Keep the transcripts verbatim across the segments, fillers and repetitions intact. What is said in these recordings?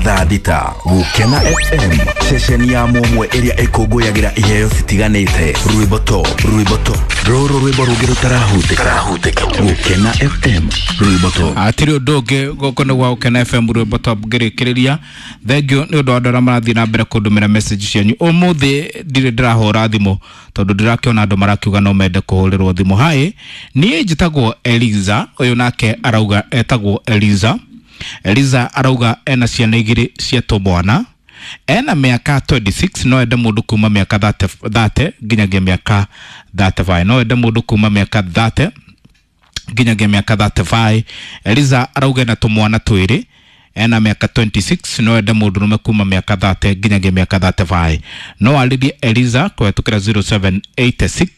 Thaa thita Gukena F M, ceceni ya mũmwe ĩrĩa ĩkũngũyagĩra iheo citiganĩte. Rwĩmbo to rwĩmbo to rũrũ rwĩmbo rũngĩ rũtarahutĩka. Gukena F M rwĩmbo to. Atirĩ ũndũ ũngĩ gũkũ nĩ gwa Gukena F M rwĩmbo top ngĩrĩkĩrĩria. Thank you nĩ ũndũ wa andũ arĩa marathiĩ na mbere kũndũmĩra message cianyu. Ũmũthĩ ndirĩ ndĩrahũra thimũ tondũ ndĩrakĩona andũ marakiuga no mende kũhũrĩrwo thimũ. Hi, niĩ njĩtagwo Eliza, ũyũ nake arauga etagwo Eliza. Eliza arauga ena ciana igĩrĩ cia tũmwana, ena mĩaka twenty-six, no ende mũndũ kuma mĩaka thirty nginyagia mĩaka thirty-five. No ende mũndũ kuma mĩaka thirty nginyagia mĩaka thirty-five. Eliza arauga ena tũmwana twĩrĩ, ena mĩaka twenty-six, no ende mũndũrũme kuma mĩaka thirty nginyagia mĩaka thirty-five. No arĩrie Eliza kũhetũkĩra zero seven eight six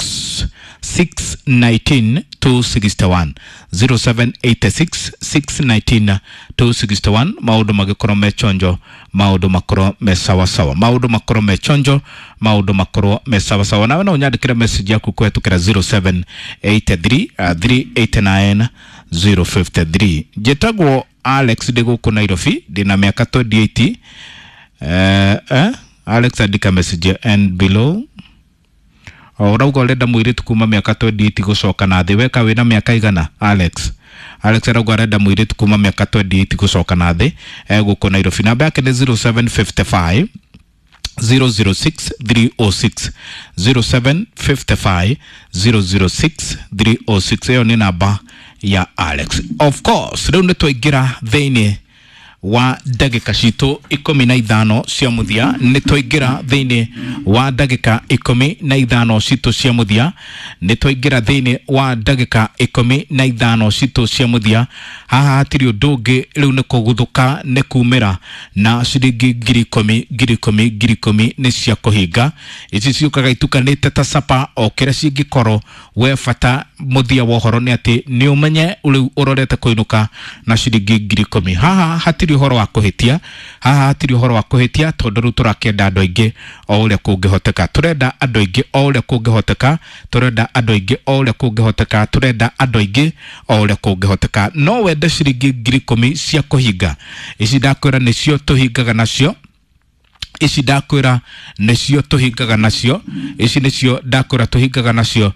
six nineteen two sixty-one, zero seven eight six six nineteen two sixty-one. Maũndũ magĩkorwo me chonjo, maũndũ makorwo me sawasawa, maũndũ makorwo me chonjo, maũndũ makorwo me sawasawa. Nawe no ũnyandĩkĩre message yaku kũhetũkĩra zero seven eight three, uh, three eight nine zero five three. Njĩtagwo Alex, ndĩ gũkũ Nairobi, ndĩna mĩaka twenty-eight. Eh, eh, Alex andĩka message and below. O ũrauga ũrenda mũirĩtu kuma mĩaka twenty-eight gũcoka na thĩ. Weka wĩna mĩaka igana, Alex? Alex arauga arenda mũirĩtu kuma mĩaka twenty-eight gũcoka na thĩ, eh, gũkũ Nairobi. Namba yake nĩ zero seven five five zero zero six three oh six, zero seven five five zero zero six three oh six. Ĩyo nĩ namba ya Alex. Of course, rĩu nĩ twaingĩra thĩinĩ wa ndagĩka citũ ikũmi na ithano cia mũthia. Nĩ twaingĩra thĩinĩ wa ndagĩka ikũmi na ithano citũ cia mũthia. Nĩ twaingĩra thĩinĩ wa ndagĩka ikũmi na ithano citũ cia mũthia. Haha hatirĩ ũndũ ũngĩ, rĩu nĩ kũguthũka, nĩ kumĩra na ciringi ngiri ikũmi, ngiri ikũmi, ngiri ikũmi nĩ cia kũhinga. Ici ciũkaga itukanĩte ta capa o kĩrĩa cingĩkorwo. We bata mũthia wa ũhoro nĩ atĩ nĩ ũmenye rĩu ũrorete kũinũka na ciringi ngiri ikũmi. Haha hatirĩ ũhoro wa kũhĩtia, haha hatirĩ ũhoro wa kũhĩtia tondũ rĩu tũrakĩenda andũ aingĩ o ũrĩa kũngĩhoteka. Tũrenda andũ aingĩ o ũrĩa kũngĩhoteka, tũrenda andũ aingĩ o ũrĩa kũngĩhoteka, tũrenda andũ aingĩ o ũrĩa kũngĩhoteka. No wende ciringi ngiri ikũmi cia kũhinga. Ici ndakwĩra nĩcio tũhingaga nacio, ici ndakwĩra nĩcio tũhingaga nacio, ici nĩcio ndakwĩra tũhingaga nacio.